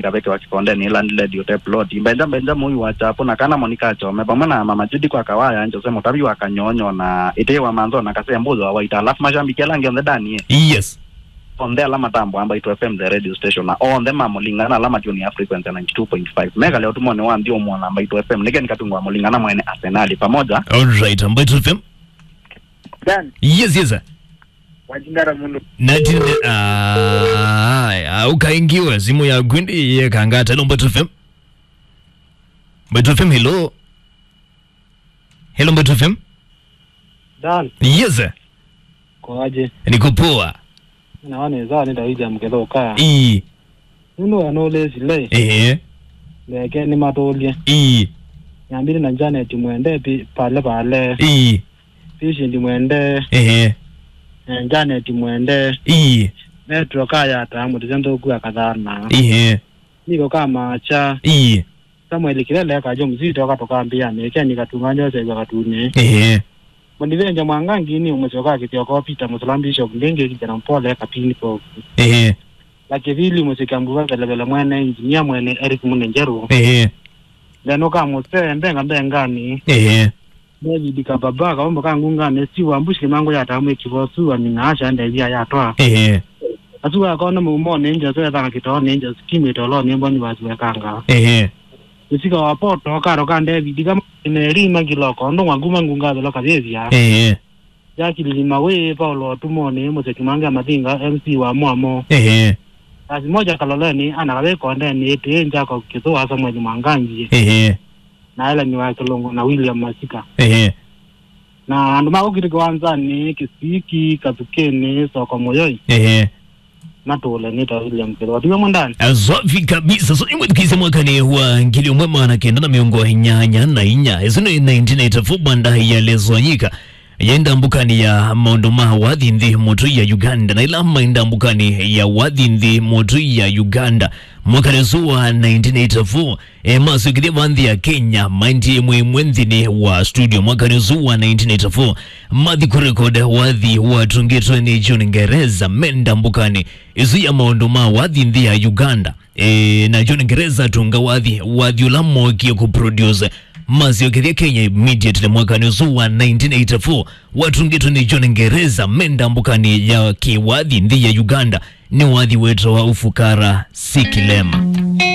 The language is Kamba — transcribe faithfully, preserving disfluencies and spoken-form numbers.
Ngavekewa kĩkondenĩ ĩla ndĩledio te plot. Mbenja, Mbenja mũi wa Chapo na kana Monica Chome, vamwe na Mama Judy kwa Kawaya, Jose Mũtavi wa Kanyonyo, na Ĩtĩĩ wa Manzo na Kasea Mbuzo wa Waita. Alafu mashambiki ala angĩ onthe, Danie. Yes. Onthe ala matambwa Mbaitu F M, the radio station, na onthe ma Mũlingana ala matune ya frequency ya ninety two point five. Mekale ũtumonĩ wa nthĩ ũmwe na Mbaitu F M. Nĩke nikatungwa Mũlingana mwene Arsenal pamoja. All right, Mbaitu F M. Dan. Yes, yes, sir. Wajingara mundu. Natine, ah, ah, ukaingiwe simu yaku ndi yekangata. Hello, Mbaitu F M. Mbaitu F M, hello. Hello, Mbaitu F M. Dan. Yes, sir. Kwaje? Niko poa. Na wane za ni Daudi ya Mkethoka. Ii. Nũndũ we nũlĩsile. Ehe. Ndeke nĩmatũlye. Ii. Nyambili na Janet Mwende pi-, pale pale. Ii. Patient Mwende. Ehe. Eh, Janet Mwende. Ii. Metro Kayata, mũtĩsya nthũku akathana. Ehe. Niko kama cha. Ii. Samuel Kilele akajo mzito akatũkambĩa nĩ Keni Katunga Joseph Katuni. Ehe. Mũnivenja Mwangangi nĩ ũmũsyoka kĩthĩoko Peter Mũsala Bishop ndĩngĩ kijana mpole kapini povu. Ehe. La kĩvili mũsika mbuva velevele mwene engineer mwene Eric Munenjeru. Ehe. Ndenũka mũse mbenga mbengani. Ehe. David Kababa kaombo ka ngunganĩ si wa mbushi mangu ya tamu ikivosu amina asha ndevia yatwa. Ehe. Asu akona mumone nje so yatanga kitone nje skimi tolo ni mboni wasiwekanga. Ehe. Usika wa poto karo ka David kama neri magiloko ndo nguma ngunga velo kavevia. Ehe. Jacqueline Mawe, Paulo Watumoni, Mũseki Mange Mathinga, M C wa Mwamo. Ehe. Basi moja Kaloleni, ana kawe kondeni, ĩtĩ, Njako Kĩthũa, Samuel Mwangangi. Ehe. Na Ellen wa Kĩlũngũ na William Masika. Ehe. Na andũ ma kũkitĩ kĩwanzanĩ, Kĩsiki, Kathukĩnĩ, Soko Mũyoi. Ehe. Matũle nĩ ta William Kĩthũa. Tiwe mwendani? Ah, swafi kabisa. So, imwe tukise mwakani wa ngili umwe maana kenda na miongo inyanya na inya. Isu nĩ nineteen eighty-four banda ya Lezwanyika. Yenda mbukani ya maũndũ ma wathi nthĩ mũtũ ya Uganda. Na ila maenda mbukani ya wathi nthĩ mũtũ ya Uganda. Mwakani ũsu wa nineteen eighty-four, e, masukithie va nthĩ ya Kenya, maendie ĩmwe ĩmwe nthĩnĩ wa studio. Mwakani ũsu wa nineteen eighty-four, mathi kũrekod wathi watungĩtwe nĩ John Ngereza menda mbukani ĩsu ya maũndũ ma wathi nthĩ ya Uganda. E, na John Ngereza atunga wathi, wathi ũla mookie kũproduce masyokethya Kenya immediately mwakani ũsu wa nineteen eighty-four, watungĩtwe nĩ John Ngereza menda mbukani ya kĩwathi nthĩ ya Uganda, nĩ wathi wetawa Ufukara Si Kilema.